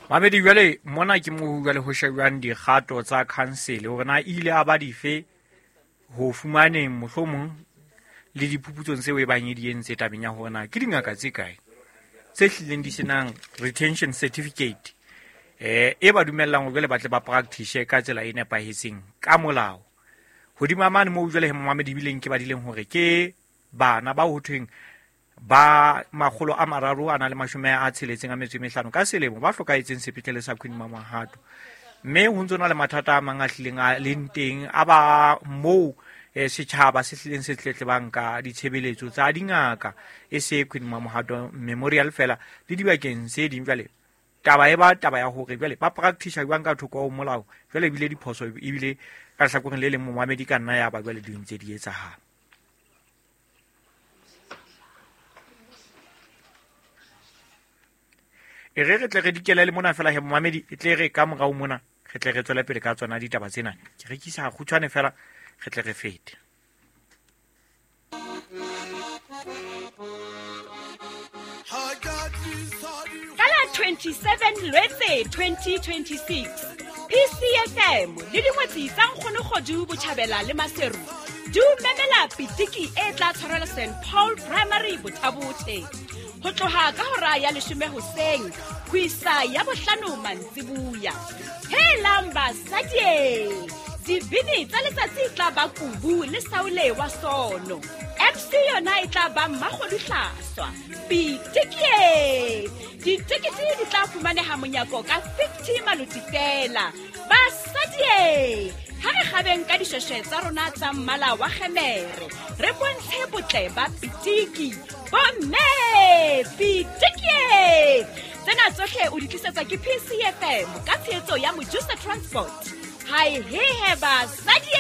Mamedi, jwale mona ke moo jwale ho shebjwang dikgato tsa khansele hore na e ile a ba dife ho fumaneng mohlomong le diphuputsong tseo e bang e di entse tabeng ya hore na ke dingaka tse kae tse hlileng di senang retention certificate e ba dumellang hore jwale ba tle ba practice ka tsela e nepahetseng ka molao. Hodima mane moo jwale he momamedi ebileng ke badileng hore ke bana bao ho thweng ba 365 ka selemo ba hlokahetseng sepetlele sa Queen Mamohato, mme ho ntso na le mathata a mang a hlileng a leng teng a ba moo setjhaba se hlileng se tletlebang ka ditshebeletso tsa dingaka e se Queen Mamohato Memorial fela le dibakeng tse ding. Jwale taba e ba taba ya hore jwale ba practice jwang ka thoko ho molao, jwale ebile diphoso ebile ka lehlakoreng le leng momamedi ka nna ya ba jwale di ntse di etsahala. E re re tle re dikele le mona fela he momamedi, e tle re ka morao mona re tle re tswele pele ka tsona ditaba tsena. Ke rekisa kgutshwane fela re tle re fete. Ka la 27 Lwetse 2026, PCFM le dingwetsi tsa Nkgonokgodu Botjhabela le Maseru di o memela pitiki e tla tshwarelwa St Paul Primary Bothabothe ho tloha ka hora ya 10 hoseng ho isa ya 5 mantsibuya. Helang basadi, dibini tsa letsatsi tla ba Kubu le Saule wa Sono. MC yona e tla ba Mmakgodu Hlaswa. Pitiki! Ditekete di tla fumaneha monyako ka 50 maloti fela. Basadi, ha re kgabeng ka dishweshwe tsa rona tsa mmala wa kgemere, re bontshe botle ba pitiki. Bomme, pitiki! Tsena tsohle o di tlisetswa ke PCFM ka tshehetso ya Mojusa Transport. Hai hehe basadi!